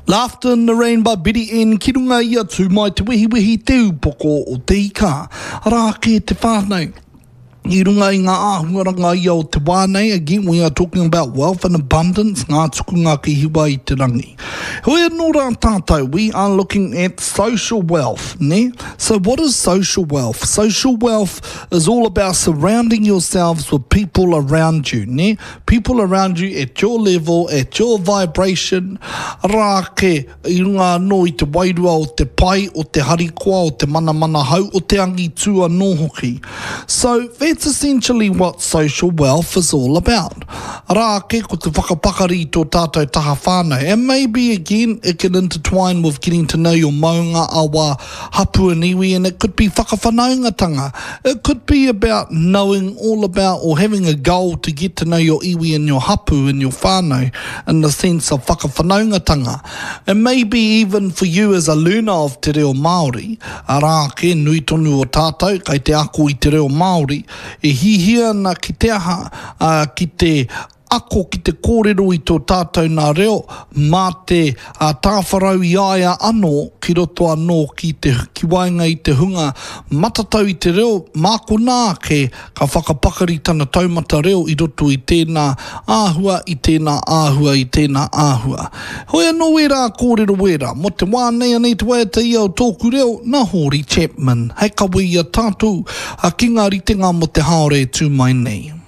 Laughter in the Rain by Biddy N ki runga i a Tū Mai Te Wehiwehi Te Upoko o Te Ika. Arā ake te whānau i runga i ngā āhuaranga ia o te wā nei, again we are talking about wealth and abundance, ngā tukunga ki hiwa i te rangi. Heoi anō rā tātou, we are looking at social wealth, nē? So what is social wealth? Social wealth is all about surrounding yourselves with people around you, nē? People around you at your level, at your vibration, arā ake i runga anō i te wairua o te pai, o te harikoa, o te manamanahau, o te angitū anō hoki. So, that's essentially what social wealth is all about. Arā ake, ko te whakapakari i tō tātou taha whānau. And maybe again, it can intertwine with getting to know your maunga, awa, hapu and iwi and it could be whakawhanaungatanga. It could be about knowing all about or having a goal to get to know your iwi and your hapu and your whānau in the sense of whakawhanaungatanga. And maybe even for you as a learner of te reo Māori, arā ake, nui tonu o tātou kai te ako i te reo Māori, e hihia ana ki te aha, ā, ki te ako ki te kōrero i tō tātou nā reo mā te tāwharau i a ia anō ki roto anō ki te ki waenga i te hunga matatau i te reo, mā konā ake ka whakapakari tana taumata reo i roto i tēnā āhua, i tēnā āhua, i tēnā āhua. Hoi anō wērā kōrero wērā, mō te wā nei anei te waiata ia o Tōku Reo nā Hōri Chapman hei kawe i a tātou ki ngā ritenga mō te haore e tū mai nei.